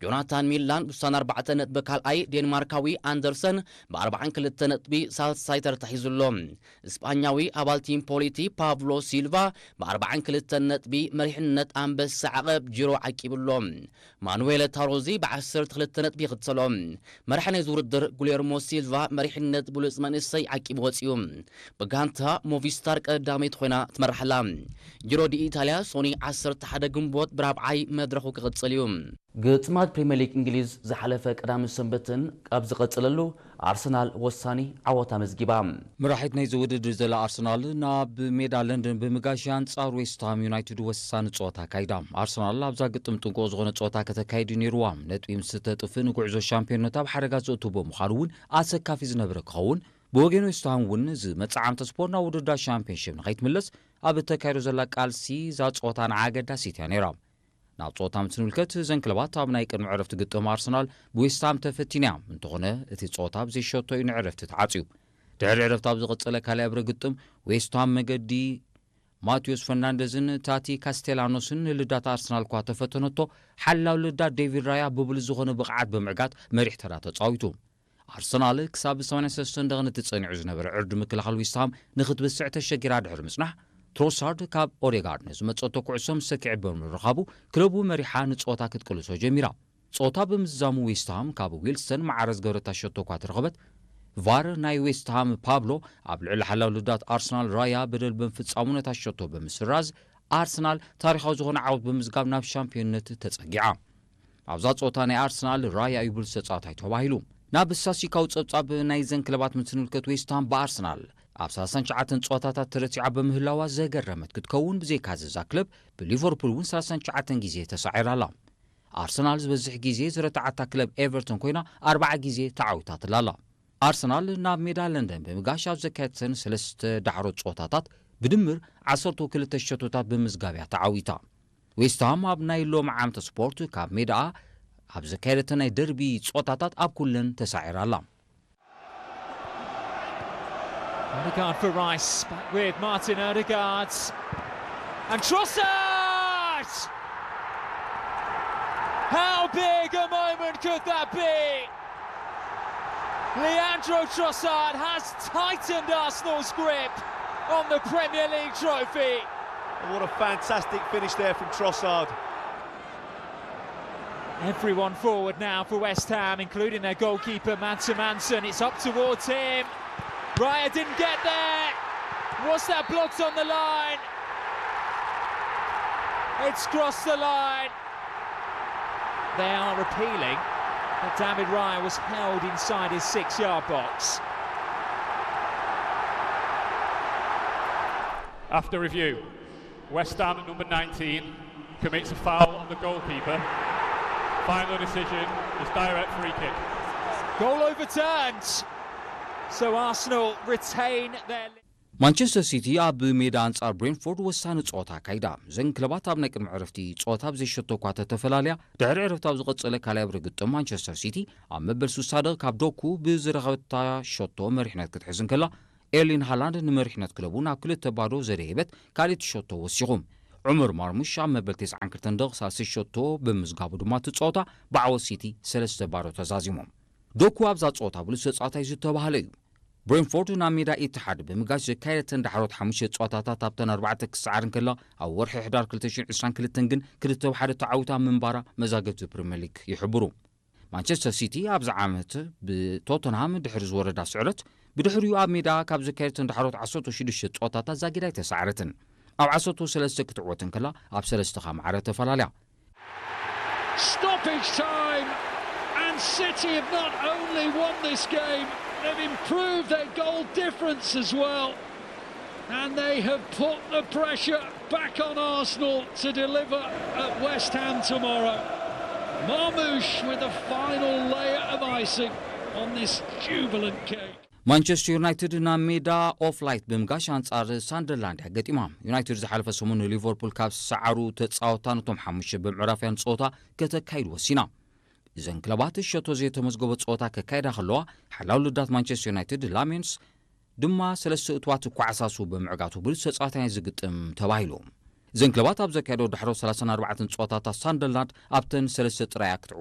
ጆናታን ሚላን ብሳን ኣርባዕተ ነጥቢ ካልኣይ፣ ዴንማርካዊ ኣንደርሰን ብ ኣርባዓን ክልተ ነጥቢ ሳልሳይ ተርታ ሒዙ ኣሎ። እስጳኛዊ ኣባል ቲም ፖሊቲ ፓብሎ ሲልቫ ብ ኣርባዓን ክልተ ነጥቢ መሪሕነት ኣንበሳ ዓቐብ ጂሮ ዓቂቡ ኣሎ። ማኑዌለ ታሮዚ ብ ዓሰርተ ክልተ ነጥቢ ይኽተሎ። መራሒ ናይዚ ውድድር ጉሌርሞ ሲልቫ መሪሕነት ብሉጽ መንእሰይ ዓቂቡ ወጺኡ። ብጋንታ ሞቪስታር ቀዳመይቲ ኮይና ትመርሕ ኣላ። ጂሮ ዲ ኢታልያ ሶኒ ዓሰርተ ሓደ ግንቦት ብራብዓይ መድረኹ ክቕጽል እዩ። ግጥማት ፕሪምየር ሊግ እንግሊዝ ዝሓለፈ ቀዳምን ሰንበትን ኣብ ዝቐጸለሉ ኣርሰናል ወሳኒ ዓወት ኣመዝጊባ። መራሒት ናይዚ ውድድር ዘላ ኣርሰናል ናብ ሜዳ ለንደን ብምጋሽ ኣንጻር ዌስትሃም ዩናይትድ ወሳኒ ጸወታ ኣካይዳ። ኣርሰናል ኣብዛ ግጥም ጥንቁቕ ዝኾነ ጸወታ ከተካይድ እዩ ነይርዋ። ነጥቢ ምስ ተጥፍእ ንጉዕዞ ሻምፒዮንነት ኣብ ሓደጋ ዘእቱ ብምዃኑ እውን ኣሰካፊ ዝነበረ ክኸውን፣ ብወገን ዌስትሃም እውን ዝመጽእ ዓመተ ስፖርት ናብ ውድድር ሻምፒዮንሺፕ ንኸይትምለስ ኣብ እተካይዶ ዘላ ቃልሲ እዛ ጸወታ ንዓ ኣገዳሲት እያ ነይራ። ናብ ጸወታ ምስ ንምልከት እዘን ክለባት ኣብ ናይ ቅድሚ ዕረፍቲ ግጥም ኣርሰናል ብዌስትሃም ተፈቲና እያ። እንተኾነ እቲ ጸወታ ብዘይ ሸቶ እዩ ንዕረፍቲ ተዓጽዩ። ድሕሪ ዕረፍቲ ኣብ ዝቐጸለ ካልኣይ እብረ ግጥም ዌስትሃም መገዲ ማቴዎስ ፈርናንደዝን ታቲ ካስቴላኖስን ንልዳት ኣርሰናል እኳ ተፈተነቶ፣ ሓላው ልዳት ዴቪድ ራያ ብብሉጽ ዝኾነ ብቕዓት ብምዕጋት መሪሕ ተራ ተጻዊቱ። ኣርሰናል ክሳብ ሰማንያ ሰለስተ ደቕን እቲ ጸኒዑ ዝነበረ ዕርዲ ምክልኻል ዌስትሃም ንኽትብስዕ ተሸጊራ ድሕሪ ምጽናሕ፣ ትሮሳርድ ካብ ኦዴጋርድ ንዝመጸቶ ኩዕሶ ምስ ሰኪዐ ብምርኻቡ ክለቡ መሪሓ ንጸወታ ክትቅልሶ ጀሚራ። ጸወታ ብምዝዛሙ ዌስትሃም ካብ ዊልሰን ማዕረ ዝገበረታ ሸቶ እኳ ተረኸበት፣ ቫር ናይ ዌስትሃም ፓብሎ ኣብ ልዕሊ ሓላው ልዳት ኣርሰናል ራያ በደል ብምፍጻሙ ነታ ሸቶ ብምስራዝ ኣርሰናል ታሪኻዊ ዝኾነ ዓወት ብምዝጋብ ናብ ሻምፒዮንነት ተጸጊዓ። ኣብዛ ጸወታ ናይ ኣርሰናል ራያ እዩ ብሉጽ ተጻዋታይ ተባሂሉ። ናብ ስታስቲካዊ ጸብጻብ ናይዘን ክለባት ምስ ንምልከት ዌስትሃም ብኣርሰናል ኣብ ሰላሳን ትሽዓተን ጸወታታት ተረቲዓ ብምህላዋ ዘገረመት ክትከውን ብዘይካዚ እዛ ክለብ ብሊቨርፑል እውን ሰላሳን ትሽዓተን ግዜ ተሳዒራ ኣላ። ኣርሰናል ዝበዝሕ ግዜ ዝረትዓታ ክለብ ኤቨርተን ኮይና ኣርባዓ ግዜ ተዓዊታትላ ኣላ። ኣርሰናል ናብ ሜዳ ለንደን ብምጋሽ ኣብ ዘካየደተን ሰለስተ ዳሕሮት ጸወታታት ብድምር ዓሰርተ ክልተ ሸቶታት ብምዝጋብ እያ ተዓዊታ። ዌስትሃም ኣብ ናይ ሎሚ ዓመተ ስፖርት ካብ ሜዳኣ ኣብ ዘካየደተን ናይ ደርቢ ጸወታታት ኣብ ኩለን ተሳዒራ ኣላ። Odegaard for Rice, back with Martin Odegaard. And Trossard! How big a moment could that be? Leandro Trossard has tightened Arsenal's grip on the Premier League trophy. What a fantastic finish there from Trossard. Everyone forward now for West Ham, including their goalkeeper Mansa Manson. It's up towards him. Raya didn't get there. Was that blocked on the line? It's crossed the line. They are appealing that David Raya was held inside his six yard box. After review, West Ham number nineteen commits a foul on the goalkeeper. Final decision is direct free kick. Goal overturned. So Arsenal retain their. ማንቸስተር ሲቲ ኣብ ሜዳ ኣንጻር ብሬንፎርድ ወሳኒ ጸወታ ኣካይዳ። እዘን ክለባት ኣብ ናይ ቅድሚ ዕረፍቲ ጸወታ ብዘይ ሸቶ እኳ ተተፈላለያ፣ ድሕሪ ዕረፍቲ ኣብ ዝቐጸለ ካልኣይ እብረ ግጥም ማንቸስተር ሲቲ ኣብ መበል ሱሳ ደቕ ካብ ዶኩ ብዝረኸበታ ሸቶ መሪሕነት ክትሕዝ እንከላ፣ ኤርሊን ሃላንድ ንመሪሕነት ክለቡ ናብ ክልተ ባዶ ዘደየበት ካልኣይቲ ሸቶ ወሲኹ። ዑመር ማርሙሽ ኣብ መበል ተስዓን ክልተን ደቕ ሳልሰይቲ ሸቶ ብምዝጋቡ ድማ እቲ ጸወታ ብዓወት ሲቲ ሰለስተ ባዶ ተዛዚሞም። ዶኩ ኣብዛ ጸወታ ብሉጽ ተጻዋታይ ዝተባህለ እዩ። ብሬንፎርድ ናብ ሜዳ ኢትሓድ ብምጋሽ ዘካየደተን ዳሕሮት ሓሙሽተ ጸወታታት ኣብተን ኣርባዕተ ክስዓር እንከላ፣ ኣብ ወርሒ ሕዳር ክልተ ሽሕን ዕስራን ክልተን ግን ክልተ ብሓደ ተዓዊታ ምንባራ መዛግብቲ ፕሪምየር ሊግ ይሕብሩ። ማንቸስተር ሲቲ ኣብዚ ዓመት ብቶተንሃም ድሕሪ ዝወረዳ ስዕረት፣ ብድሕሪኡ ኣብ ሜዳ ካብ ዘካየደተን ዳሕሮት ዓሰርተ ሽዱሽተ ጸወታታት ዛጊድ ኣይተሳዕረትን። ኣብ ዓሰርተ ሰለስተ ክትዕወት እንከላ፣ ኣብ ሰለስተ ከኣ ማዕረ ተፈላለያ። Stoppage time, and City have not only won this game, they've improved their goal difference as well. And they have put the pressure back on Arsenal to deliver at West Ham tomorrow. Marmoush with the final layer of icing on this jubilant cake. ማንቸስተር ዩናይትድ ናብ ሜዳ ኦፍ ላይት ብምጋሽ ኣንጻር ሳንደርላንድ እያ ገጢማ። ዩናይትድ ዝሓለፈ ሰሙን ንሊቨርፑል ካብ ዝሰዓሩ ተጻወታ ነቶም ሓሙሽተ ብምዕራፍያን ጸወታ ከተካይድ ወሲና። እዘን ክለባት ሸቶ ዘይተመዝገቦ ጸወታ ከካይዳ ከለዋ፣ ሓላው ልዳት ማንቸስተር ዩናይትድ ላሜንስ ድማ ሰለስተ እትዋት ክዓሳሱ ብምዕጋቱ ብሉጽ ተጻዋታይ ናይዚ ግጥም ተባሂሉ። እዘን ክለባት ኣብ ዘካየዶ ዳሕሮ ሰላሳን ኣርባዕተን ጸወታታት ሳንደርላንድ ኣብተን ሰለስተ ጥራይ እያ ክትዕወት